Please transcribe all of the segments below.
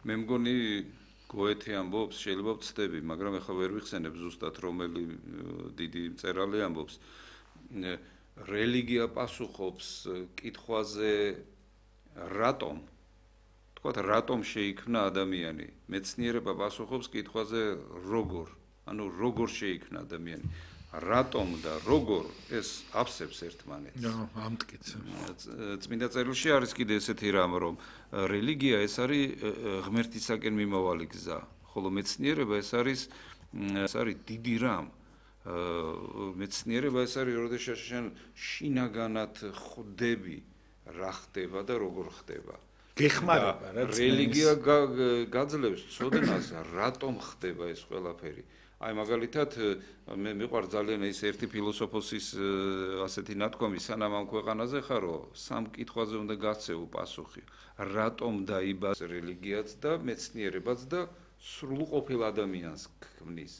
მე მგონი გოეთე ამბობს, შეიძლება ვცდები, მაგრამ ეხლა ვერ ვიხსენებ ზუსტად რომელი დიდი მწერალი ამბობს. რელიგია პასუხობს კითხვაზე რატომ? თქვათ, რატომ შეიქმნა ადამიანი? მეცნიერება პასუხობს კითხვაზე როგორ? ანუ როგორ შეიქმნა ადამიანი? რატომ და როგორ ეს აფსებს ერთმანეთს? ამტკიცებს. წმინდა წერილში არის კიდე ესეთი რამ, რომ რელიგია ეს არის ღმერთისაკენ მიმავალი გზა, ხოლო მეცნიერება ეს არის დიდი რამ. მეცნიერება ეს არის, როდესაც შენ შინაგანად ხვდები, რა ხდება და როგორ ხდება. გეხმარება რა რელიგია გაძლევს ცოდნას, რატომ ხდება ეს ყველაფერი. აი მაგალითად მე მიყვარ ძალიან ის ერთი ფილოსოფოსის ასეთი ნათქვამი, სანამ ამ ქვეყანაზე ხარო, სამ კითხვაზე უნდა გაცეო პასუხი. რატომ დაიბადა რელიგიაც და მეცნიერებაც და სრულყოფილ ადამიანს ქმნის.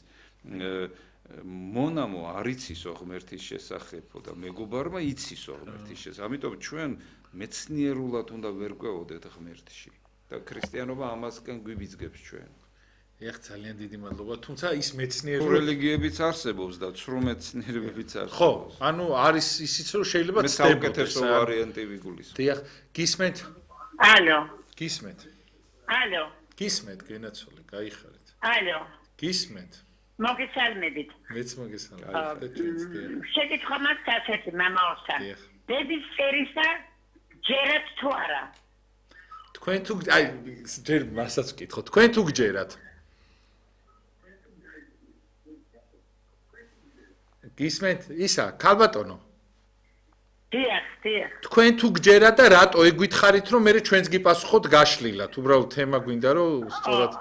მონამო არ იცისო ღმერთის შესახებ და მეგობარმა იცისო ღმერთის შესახებ. ამიტომ ჩვენ მეცნიერულად უნდა ვერ გვევოდეთ ღმერთში და ქრისტიანობა ამასკენ გვიბიძგებს ჩვენ. ეხ ძალიან დიდი მადლობა, თუმცა ის მეცნიერება რელიგიებიც არსებობს და ცრუ მეცნიერებებიც არსებობს. ხო, ანუ არის ისიც რომ შეიძლება ცდებოდეს. მე საუკეთესო ვარიანტი ვიგულისხმობ. დიახ, გისმენთ? ალო. გისმენთ? ალო. გისმენთ, გენაცოლი, გაიხარეთ. ალო. გისმენთ? მოგესალმებით. მეც მოგესალმებით. შეკითხვა მაქვს ასეთი მამაოსთან. დედის წერისა ჯერათ თუ არა? თქვენ თუ აი ჯერ მასაც ვკითხო, თქვენ თუ გჯერათ? გისმენთ ისა, ქალბატონო? დიახ. თქვენ თუ გჯერათ და რატო ეგვითხარით რომ მე ჩვენს გიპასუხოთ გაშლილად? უბრალოდ თემა გვინდა რომ სწორად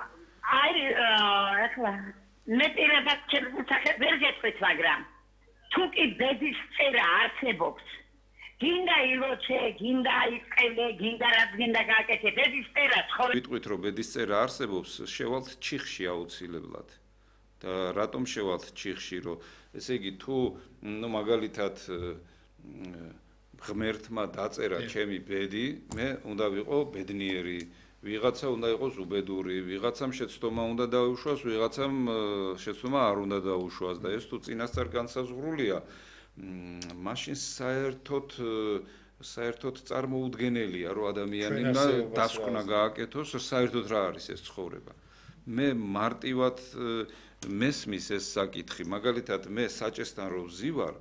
აი ახლა მე პირადად ჩემსახებ ვერ გეტყვით, მაგრამ თუ კი ბედის წერა არსებობს, გინდა ილოცე, გინდა იყელე, გინდა რაც გინდა გააკეთე, ბედის წერა ცხოვრება. ვიტყვით რომ ბედის წერა არსებობს, შევალთ ჩიხში აუცილებლად. და რატომ შევალთ ჩიხში, რომ ესე იგი თუ მაგალითად ღმერთმა დაწერა ჩემი ბედი, მე უნდა ვიყო ბედნიერი, ვიღაცა უნდა იყოს უბედური, ვიღაცამ შეცდომა უნდა დაუშვას, ვიღაცამ შეცდომა არ უნდა დაუშვას და ეს თუ წინასწარ განსაზღვრულია, მაშინ საერთოდ წარმოუდგენელია, რომ ადამიანი უნდა დასკვნა გააკეთოს, საერთოდ რა არის ეს ცხოვრება. მე მარტივად მესმის ეს საკითხი, მაგალითად მე საჭესთან რომ ვზივარ,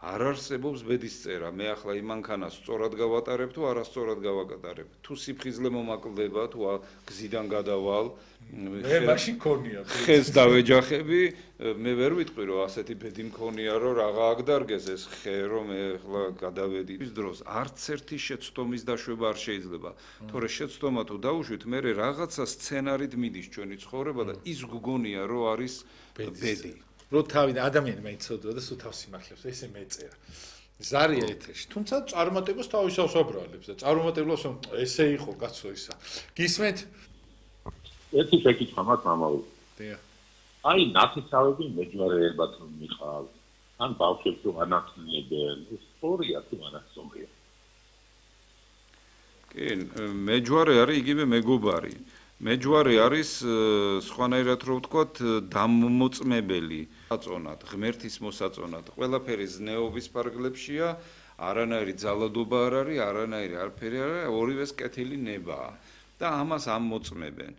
არ არსებობს ბედის წერა. მე ახლა იმ მანქანას სწორად გავატარებ თუ არასწორად გავაკეთებ. თუ სიფხიზლე მომაკლდება, თუ გზიდან გადავალ, მე მაშინ ქონია. ხეს დავეჯახები, მე ვერ ვიტყვი რომ ასეთი ბედი მქონია, რომ რაღა აგდარგეს ეს ხე, რომ მე ახლა გადავედი. ის დროს არც ერთი შეცდომის დაშვება არ შეიძლება. თორე შეცდომა თუ დაუშვით, მე რაღაცა სცენარით მიდის ჩვენი ცხოვრება და ის გგონია, რომ არის ბედი. რო თავი ადამიანი მეცოდვა და სულ თავს იმართლებს, ესე მეწერა. ზარია ეთერში, თუმცა წარმატებას თავისავს აბრალებს და წარმატებას ესე იყო კაცო ისა. გისმენთ? ერთი შეკითხვა მაქვს მამაო. დიახ. აი ნათესავები მეჯვარეებად მიყავს, ან ბავშვებს რომ ანაცნებენ, სწორია თუ არასწორია? კი, მეჯვარე არის იგივე მეგობარი. მეჯვარე არის სხვანაირად რო ვთქვათ დამოწმებელი საწონად, ღმერთის მოსაწონად. ყველაფერი ზნეობის ფარგლებშია, არანაირი ძალადობა არ არის, არანაირი არაფერი არ არის, ორივეს კეთილი ნებაა და ამას ამოწმებენ.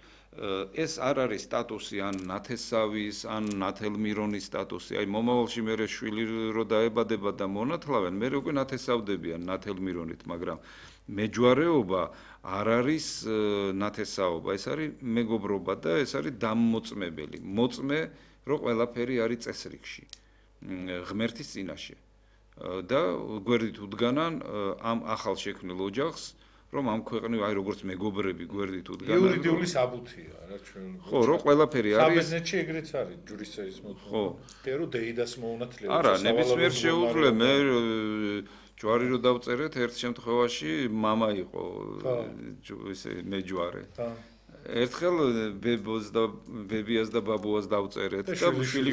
ეს არ არის სტატუსი ან ნათესავის, ან ნათელმირონის სტატუსი. აი მომავალში მე შვილი რო დაებადება და მონათლავენ, მე უკვე ნათესავდებიან ნათელმირონით, მაგრამ მეჯვარეობა არ არის ნათესაობა, ეს არის მეგობრობა და ეს არის დამოწმებელი. მოწმე, რომ ყველაფერი არის წესრიგში, ღმერთის წინაშე. და გვერდით უდგანან ამ ახალ შექმნილ ოჯახს, რომ ამ ქვეყნივ აი როგორც მეგობრები გვერდით უდგანან. იურიდიული საბუთია რა ჩვენ. ხო, რომ ყველაფერი არის. საბერძნეთში ეგრეც არის ჯურისეის მოთხოვნა. ხო. რო დეიდას მოუნათლებს. არა, ნებისმიერ შეუძლია მე ჯვარი რო დავწერეთ, ერთ შემთხვევაში მამა იყო ესე მეჯვარე. ერთხელ ბებიას და ბაბუას დავწერეთ და შვილი